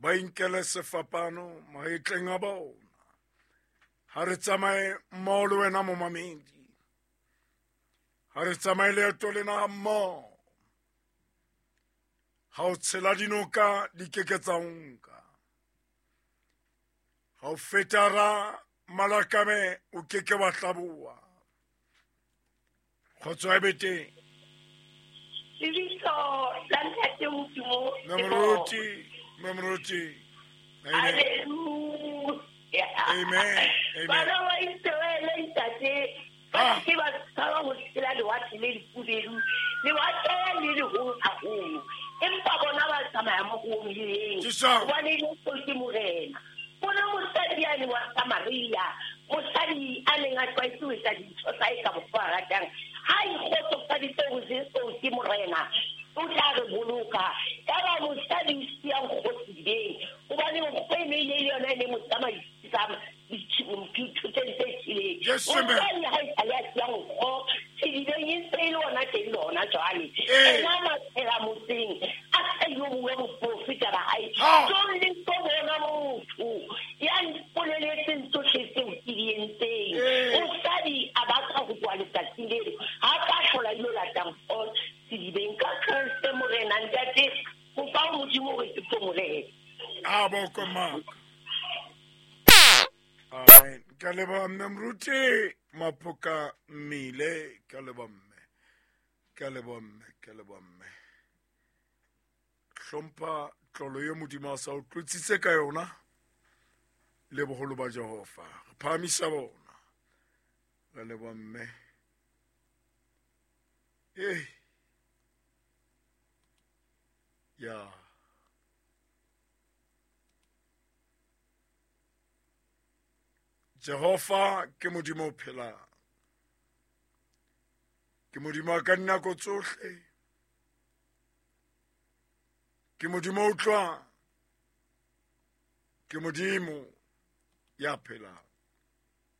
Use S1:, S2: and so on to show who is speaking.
S1: Ba inkele sefapano mahetleng a bona. Ha re tsamaye mmoho le wena momamedi. Ha re tsamaye leeto lena ha mmoho. Ha o tshela dinoka di keke tsa o nka. Ha o feta ra malakame o keke wa hlaboha. Kgotso e be teng.
S2: Lebitso la Ntate Modimo.
S1: Mme Moruti, Mme Moruti. Amen.
S2: Hallelujah.
S1: Amen. Amen.
S2: Bana ba Israele ntate ba se ba tshaba ho tshela lewatle le lefubedu, lewatle le leholo haholo. Empa bona ba tsamaya mo ho omileng. Hobane Jesu ke Morena. Bona mosadi yane wa Samaria, mosadi a neng a tlwaetse ho etsa dintho tsa hae ka mokgwa a ratang. Ha ikgotsofaditse ho Jesu ke Morena, o tla re boloka. Yaba mosadi o siya nkgo sedibeng, hobane nkgo e ne e le yona e ne mo tsamaisang dithoteng tse tjheleng. Mosadi ha e sale a siya nkgo sedibeng, e ntse e le ona teng le hona jwale. Ena maphela motseng, a sa ilo bua boprofeta ba hae. Tlo le tlo bona motho ya mpoleletseng tsohle tseo ke di entseng. Mosadi a batla ho tloha letsatsing leo, ha ka hlola ilo lata nkgo sedibeng. Ka Kreste Morena ntate, kopa ho Modimo hore ke tlo Morena.
S1: A boko maka. Amen. Ka leboha mme Moruti Maphoka Mmile, ka leboha mme. Ka leboha mme, ka leboha mme. Hlompha tlolo ye Modimo a sa o tlotsitse ka yona le boholo ba Jehova. Re phahamisa bona. Ka leboha mme. Eh. Ya. Jehova ke Modimo o phelang. Ke Modimo wa ka dinako tsohle. Ke Modimo o utlwang. Ke Modimo ya phelang.